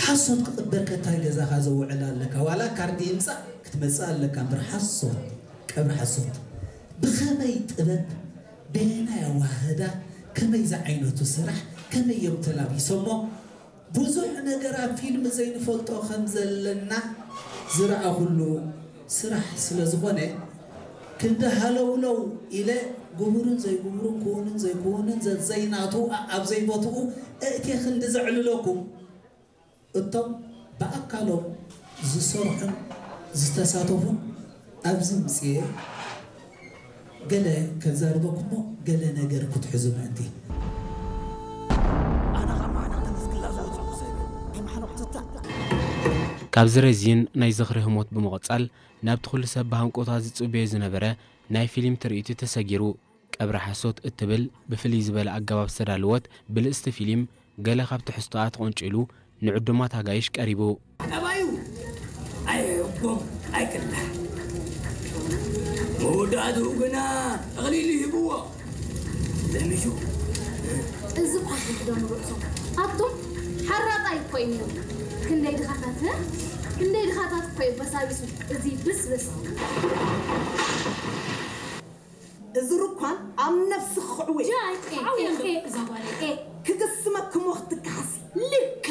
ሓሶት ክቕበር ከታይ ገዛኻ ዘውዕል ኣለካ? ዋላ ካርዲ ይምጻእ ክትመጽእ ኣለካ እምበር ሓሶት፣ ቀብሪ ሓሶት። ብኸመይ ጥበብ፣ በየናይ ኣዋህዳ፣ ከመይ ዝዓይነቱ ስራሕ፣ ከመይ እዮም ተላቢሶሞ? ብዙሕ ነገር ኣብ ፊልም ዘይንፈልጦ ከም ዘለና ዝረኣኹሉ ስራሕ ስለ ዝኾነ፣ ክንዲ ሃለውለው ኢለ ግቡርን ዘይግቡርን ክውንን ዘይክውንን ዘዘይናቱ ኣብ ዘይቦትኡ እእቴ ክንዲ ዘዕልለኩም፣ እቶም ብኣካሎም ዝሰርሑን ዝተሳተፉን ኣብዚ ምጽኤ ገለ ከዛርበኩሞ ገለ ነገር ክትሕዙ ምእንቲ። ካብዚ ረዚን ናይ ዝኽሪ ህሞት ብምቕጻል ናብቲ ኩሉ ሰብ ብሃንቆታ ዝጽበዮ ዝነበረ ናይ ፊልም ትርኢቱ ተሰጊሩ። ቀብሪ ሓሶት እትብል ብፍልይ ዝበለ ኣገባብ ዝተዳለወት ብልጽቲ ፊልም ገለ ካብ ትሕዝቶኣ ተቖንጪሉ ንዕዱማት ኣጋይሽ ቀሪቡ። ጠባዩ ኣይሕጎም ኣይቅላዕ። መወዳእትኡ ግና ተቕሊሉ ይህብዎ። ለሚሹ እዚ ኳ ሕድዶም ርእሶም ኣቱም ሓራጣ ይኮይኑ። ክንደይ ድኻታት እ? ክንደይ ድኻታት እኮ እዩ በሳቢሱ እዚ ብስብስ። እዚ ርኳን ኣብ ነፍሲ ክኽዕው እየ። ጃይ ኤ፣ ኤ፣ ኤ፣ እዛ ጓለይ ኤ። ክግስመክሞ ክትከሓሲ ልክ